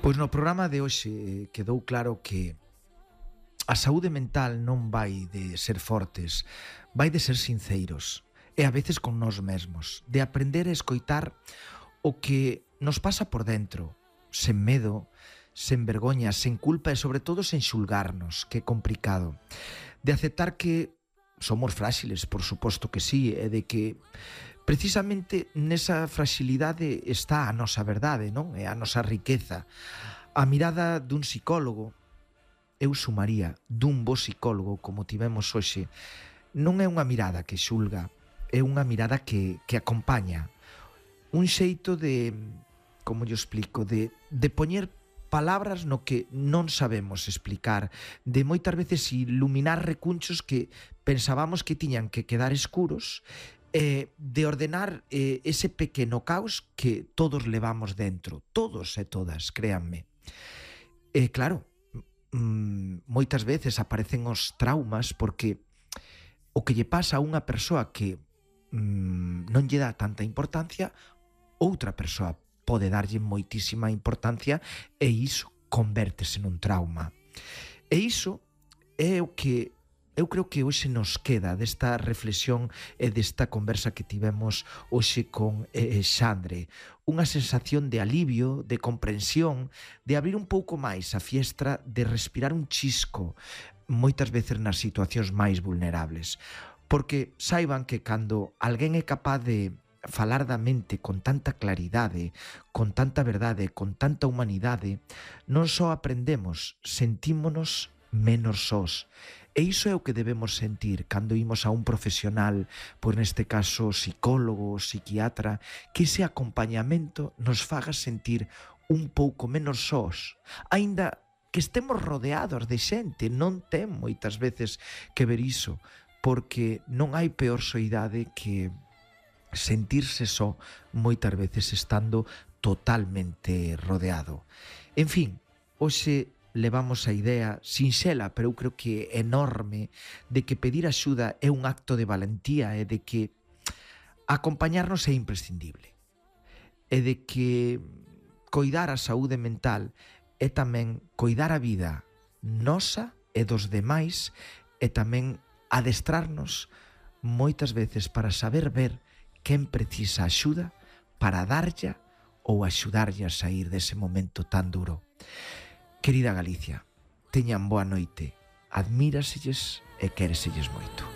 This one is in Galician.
Pois no programa de hoxe quedou claro que a saúde mental non vai de ser fortes, vai de ser sinceiros e a veces con nós mesmos, de aprender a escoitar o que nos pasa por dentro, sen medo, sen vergoña, sen culpa e sobre todo sen xulgarnos, que é complicado, de aceptar que somos fráxiles, por suposto que sí, e de que precisamente nesa fragilidade está a nosa verdade, non? E a nosa riqueza. A mirada dun psicólogo, eu sumaría dun bo psicólogo como tivemos hoxe, non é unha mirada que xulga, é unha mirada que acompaña. Un xeito de, como yo explico, de poñer palabras no que non sabemos explicar, de moitas veces iluminar recunchos que pensábamos que tiñan que quedar escuros, de ordenar ese pequeno caos que todos levamos dentro, todos e todas, créanme. E claro, moitas veces aparecen os traumas porque o que lle pasa a unha persoa que non lle dá tanta importancia, outra persoa pode darlle moitísima importancia e iso convértese nun trauma. E iso é o que eu creo que hoxe nos queda desta reflexión e desta conversa que tivemos hoxe con Xandre. Unha sensación de alivio, de comprensión, de abrir un pouco máis a fiestra, de respirar un chisco, moitas veces nas situacións máis vulnerables. Porque saiban que cando alguén é capaz de falar da mente con tanta claridade, con tanta verdade, con tanta humanidade, non só aprendemos, sentímonos menos sós. E iso é o que debemos sentir cando imos a un profesional, pois neste caso psicólogo, psiquiatra, que ese acompañamento nos faga sentir un pouco menos sós. Aínda que estemos rodeados de xente, non ten moitas veces que ver iso, porque non hai peor soidade que sentirse só moitas veces estando totalmente rodeado. En fin, hoxe levamos a idea sinxela, pero eu creo que enorme, de que pedir axuda é un acto de valentía e de que acompañarnos é imprescindible. E de que coidar a saúde mental é tamén coidar a vida nosa e dos demais e tamén adestrarnos moitas veces para saber ver quen precisa axuda para darlla ou axudarlle a sair dese momento tan duro. Querida Galicia, teñan boa noite, admíraselles e quéreselles moito.